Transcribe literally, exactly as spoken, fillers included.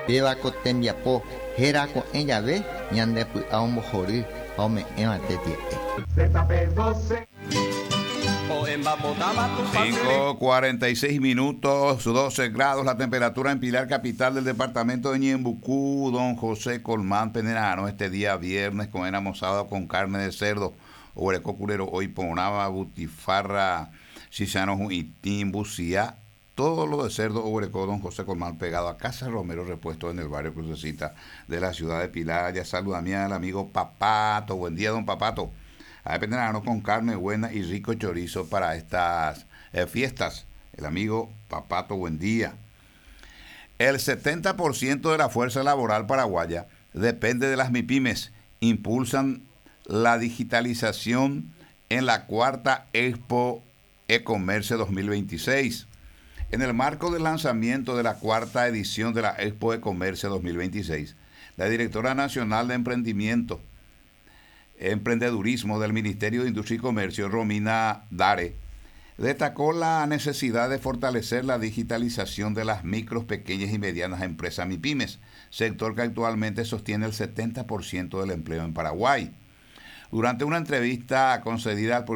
Péva ko tembiapo héra ko'ẽ jave ñande py'a ombohory ha ome'ẽva tetia'e. cinco cuarenta y seis minutos, doce grados la temperatura en Pilar, capital del departamento de Ñeembucú. Don José Colmán Penerano, este día viernes con sábado con carne de cerdo, oguereko kure ro'o iporãva, butifarra, chicharrón hu'itĩ, mbusia, todo lo de cerdo oguereko don José Colmán, pegado a Casa Romero Repuesto en el barrio Crucecita de la ciudad de Pilar. Ya saluda a mí al amigo Papato. Buen día, don Papato. A Penerano con carne buena y rico chorizo para estas eh, fiestas. El amigo Papato, buen día. El setenta por ciento de la fuerza laboral paraguaya depende de las MIPIMES. Impulsan la digitalización en la cuarta Expo E-Comercio dos mil veintiséis. En el marco del lanzamiento de la cuarta edición de la Expo E-Comercio dos mil veintiséis, la directora nacional de Emprendimiento, Emprendedurismo del Ministerio de Industria y Comercio, Romina Dare, destacó la necesidad de fortalecer la digitalización de las micros, pequeñas y medianas empresas MIPIMES, sector que actualmente sostiene el setenta por ciento del empleo en Paraguay. Durante una entrevista concedida al programa